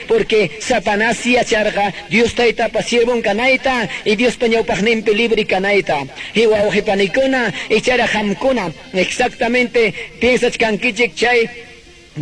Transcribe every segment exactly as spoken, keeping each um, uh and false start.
Porque Satanás yacharqa Dios Taytapa siervon kanayta y Diospa ñawpaqninpi libre kanayta. Y wawqi panikuna, ichara qamkuna exactamente piensachkankichik chay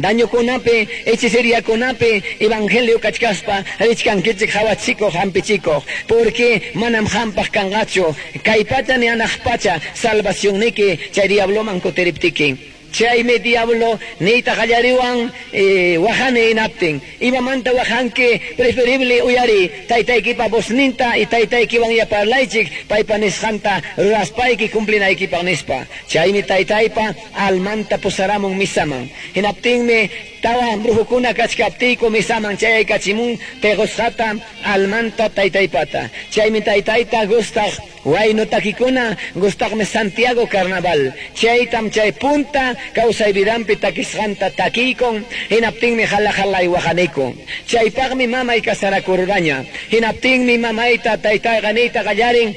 dañokunapi, hechiceriakunapi, evangelio kachkaspa, richkankichik hawachikuq, hampichikuq, porque manam hampaq kanqachu, kay pacha ni hanaq pacha salvacionniki chay diabloman kutiriptiki. Chaymi diablo niyta qallariwan eh, waqani hinaptin. Imamanta waqanki? Preferible uyari taytaykipa vozninta y taytaykiwan parlaychik paypa nisqanta ruraspayki cumplinaykipaq nispa. Chaymi taytaypa almanta pusaramun misaman. Hinaptinmi tawa brujukuna kachkaptiyku misaman chayaykachimun tequsqata almanta taytaypata. Chaymi taytayta gustaq waynu takikuna, gustaqmi Santiago Carnaval. Chaytam chay punta kawsay vidanpi takisqanta takiykun, hinaptinmi hala halay waqaniku. Chaypaqmi mamay kasarakurqaña. Hinaptinmi mamayta taytayqa niyta qallarin: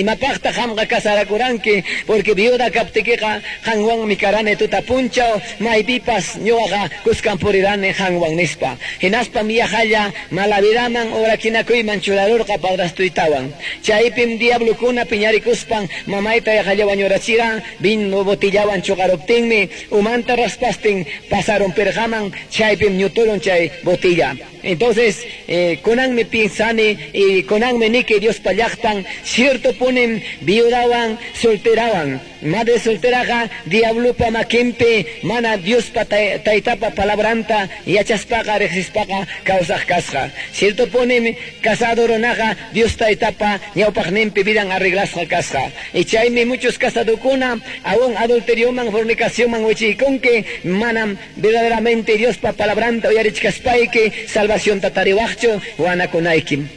"Imapaqta qamqa kasarakuranki? Porque viuda kaptikiqa qanwanmi karani tuta punchaw, maypipas ñuqaqa kuskan purirani qanwan" nispa. Hinaspam yaqalla malavidaman urakinakuyman churarurqa padrastuytawan. Chaypim diablokuna piñarikuspan mamayta yaqalla wañurachira, vino botillawan chuqaruptinmi umanta raspastin pasaron pirqaman, chaypim ñuturun chay botilla. Entonces, eh, kunanmi piensani y kunanmi niki Diospa llaqtan cierto punim viudawan solterawan. Madre solteraqa diablopa makinpi mana Diospa taytapa palabranta yachaspaqa riqsispaqa kawsaq kasqa. Cierto punim casado runaqa Dios taytapa ñawpaqninpi vidan arreglasqa kasqa. Y chaymi muchos casadokuna aún adulterioman, fornicacionman wichiykunki, manam verdaderamente Diospa palabranta uyarichkaspayki salvación tariwaqchu, wanakunaykim.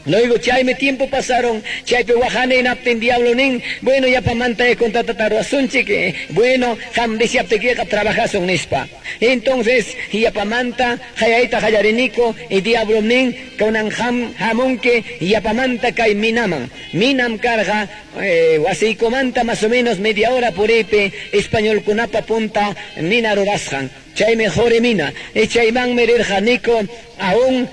Luego chaymi tiempo pasaron, chaypi waqani hinaptin diablo nin: "Bueno, yapamanta contratata ruwasunchik, bueno, qam deseaptikiqa trabajasun" nispa. Entonces, yapamanta hayayta qallariniku y diablo nin: "Kunan qam hamunki yapamanta kay minaman". Minam karqa eh, wasiykumanta más o menos media hora puripi, españolkunapa punta mina rurasqan. Chaymi quri mina. Y chaymanmi rirqaniku aún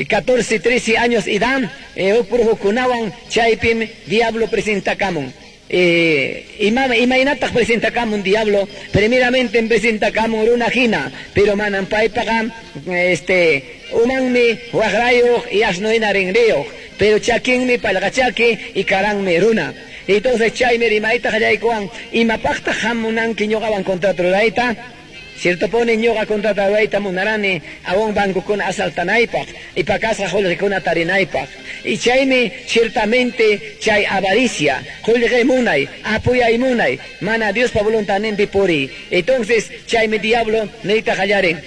catorce, trece años edad, eh, kunawan. Chaypim diablo presentakamun. Eh, ima, imaynataq presentakamun diablo? Primeramente presentakamun runa hina, pero manam paypaqa este umanmi waqrayuq y asno hina rinriyuq, pero chakinmi pallqachaki y karanmi runa. Entonces chaymi rimayta qallaykuwan: "¿Imapaqtaq hamunanki ñuqawan contrato rurayta?" Cierto puni ñuqa contrato rurayta munarani aún bancokuna asaltanaypaq y pakasqa qullqikuna tarinaypaq. Y chaymi ciertamente chay avaricia, qullqi munay, apuyay munay, mana Diospa voluntadninpi puriy. Entonces chaymi diablo niyta qallarin: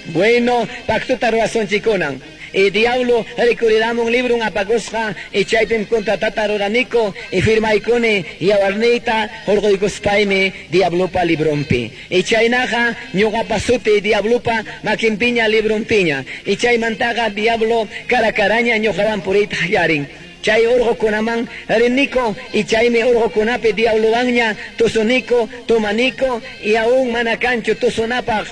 "Bueno, pactota rurasunchikunan". Y diablo rikuriramun libro apakusqa y chaypim contratata ruraniku y firmaykuni yawarniyta hurquykuspaymi diablopa librompi. Y chaynaqa ñuqapa suti diablopa makinpiña, librompiña. Y chaymantaqa diablo cara caraña ñuqawan puriyta qallarin. Chay urqukunaman riniko y chaymi urqukunapi diablowanña tusuniko, tomaniko y aún mana kanchu tusunapaq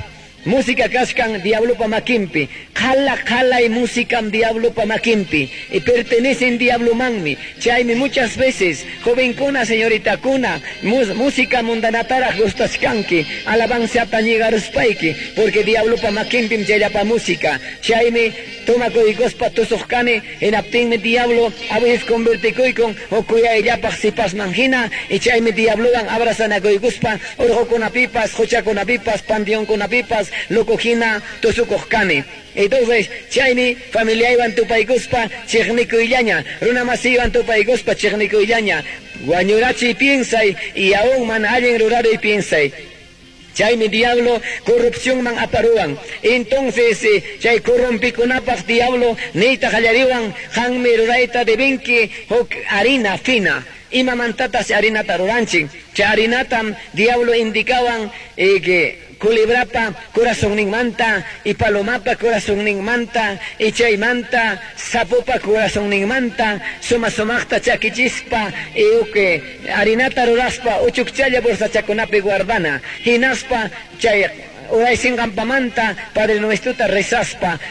música kachkan diablopa makinpi. Qhala qalay músicam diablopa makinpi. Y pertenecen diablomanmi. Chaymi muchas veces, jovenkuna, señoritakuna, música mundanataraq gustachkanki, alabanzata ñigaruspayki, porque diablopa makinpim chayllapa música. Chaymi tomakuykuspa tusuq kani, hinaptinmi diablo a veces convertikuykun huk kuyayllapaq sipasman hina, y chaymi diablowan abrazanakuykuspa urqukunapipas, quchakunapipas, panteonkunapipas loco hina tusukuq kani. Entonces, chaymi familiaywan tupaykuspa chiqnikuyllaña, runa masiywan tupaykuspa chiqnikuyllaña, wañurachiy piensay y aún mana allin ruraruy piensay. Chaymi diablo corrupcionman aparuwan. Entonces, eh, chay corrompikunapaq diablo niyta qallariwan: "Qammi rurayta debinki huk harina fina". Imamantatas harinata ruranchik? Chay harinatam diablo indicawan eh, que culebrapa corazonninmanta y palomapa corazonninmanta y chaymanta sapopa corazonninmanta suma sumaqta chakichispa y uke harinata ruraspa uchukchalla bolsachakunapi guardana, hinaspa chay uraysinqanpamanta Padre Nuestrota rezaspa.